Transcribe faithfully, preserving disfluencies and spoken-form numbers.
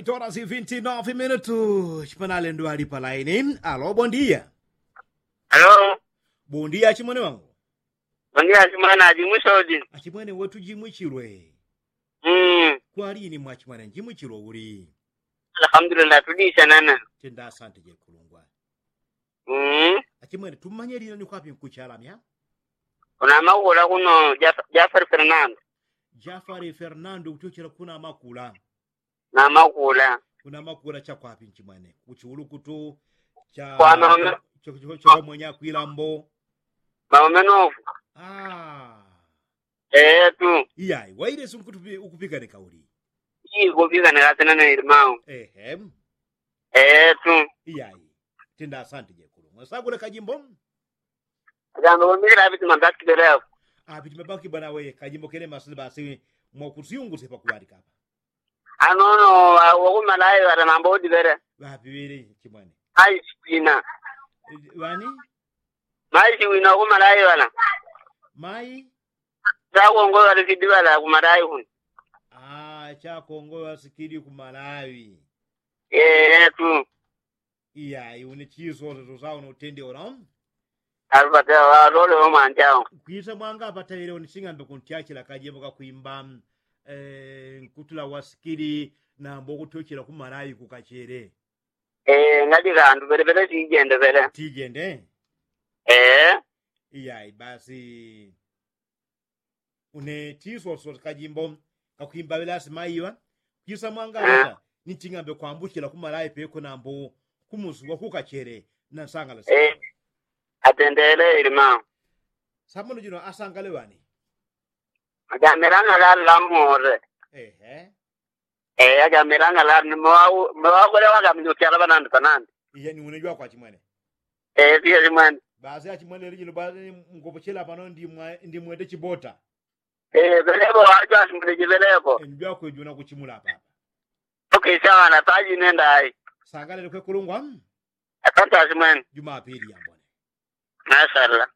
Tola si vinti nove minutu chipanale ndwali pa laini. Alo bondia. Alo. Bondia achimwene wangu. Bondia achimwene ajimwisodi. Achimwene wetu jimwichilwe. Mm. Kwalini mwachimwene njimwichilwe uli? Alhamdulillah tudisa nana. Tenda asante jekulungwa. Mm. Achimwene tumanyelile ni kwapi nkuchalamya? Kuna makula kuno. Jafari fernando. Jafari fernando kuchochela kuna makula. Na makula. Kuna makula chakwapi nchimwene kuchiulukutu cha kwa maume. Chomwenye akwilambo. Maume nofu. Ah. Etu. Iyai wailesi ukupikanikauli. Ikupikanikasinana ilimau. Ehe. Etu. Iyai. Tenda asante jekulu mwasakule kajimbo. Apitimabaki banawe kajimbo kene masile basi. Mwakusiunguse pakuwalikapa. Anono wakumalayi ŵatanambo udivele. Ŵapiŵili chimwene. Aisikwina. Ŵani? Maisikwina wakumalayi ŵana. Mai. Chakongoyo ŵalisikidi ŵala kumalayi kuno. Chakongoyo ŵalisikidi kumalayi. Etu. Iyai une chisoseso sawo notende ora. Alupatela walole omwanjao. Kwisa mwanga apataile unising'ambe kuntyachila kajembo kakwimba. Nkutula wasikili nambo kutyochela kumalawi kukachele. Ngati kandu pelepele tijende pele. Tijende. Iyai basi. Une tiswaswa kajimbo kakwimba ŵelasi maiŵa. Kwisa mwanga apata ninting'ambe kwambuchila kumalawi peko nambo kumusuwa kukachele. Nansangala atendele ilimao. Samono jino asangale ŵani. Ajamelanga lali lamore. Ehe. Eya jamelanga lali ni mwawakwele wakamile ukyala panandi panandi. Iya ni une jwakwa chimwene. Eya siya chimwene. Basi achimwene lijino basi. Mkopochela pano ndimwete chibota. Eya pelepo wajwa achimwene chipelepo. Enjwakwe juna kuchimula papa. Okay sawa na paji nenda ai. Sangalele kwe kulungwa. Asante achimwene. Jumapili yambone. Mashallah.